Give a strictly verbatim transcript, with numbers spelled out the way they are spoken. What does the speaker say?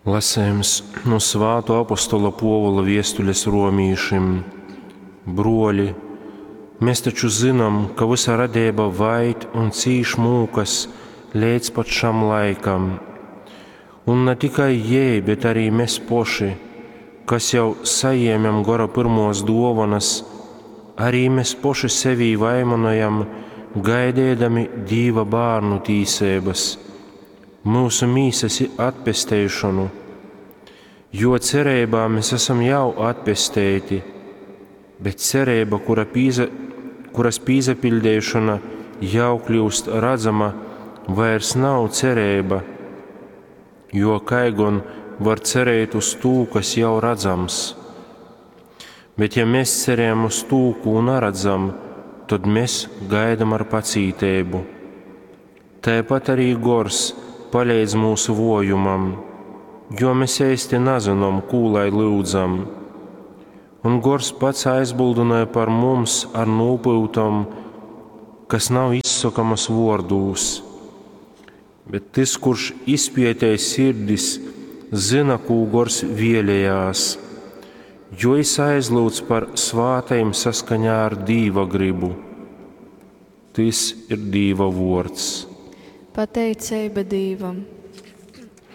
Lasējums nu Svātō apostola Pōvula viestules romīšim. Bruoļi, mes taču zynom, ka vysa radeiba vaid un cīš mūkas leidz pat šam laikam. Un na tikai jei, bet arī mes poši, kas jau sajēmem gora pyrmōs dōvonas, arī mes poši sevī vaimanojam, gaideidami Dīva bārnu tīseibas, myusu mīsas atpesteišonu. Jo cereibā mēs esam jau atpesteiti, bet cereiba, kura pīza, kuras pīsapiļdeišona jau kļūst radzama, vairs nav cereiba, jo kai gon var cerēt uz tū, kas jau radzams? Bet ja mēs cerējam uz tū, kū naredzam, tad mēs gaidam ar pacīteibu. Tāpat arī gors paleidz mūsu vojumam, jo mēs eisti nazinom, kū lai lyudzam. Un gors pats aizbildināja par mums ar nopūtom, kas nav izsakamas vārdūs. Bet tas, kurš izpietē sirdis, zina, kū gors vēlējās, jo es aizlūdzu par svātajiem saskaņā ar Dīva gribu. Tas ir Dīva vārds. Pateiceiba Dīvam!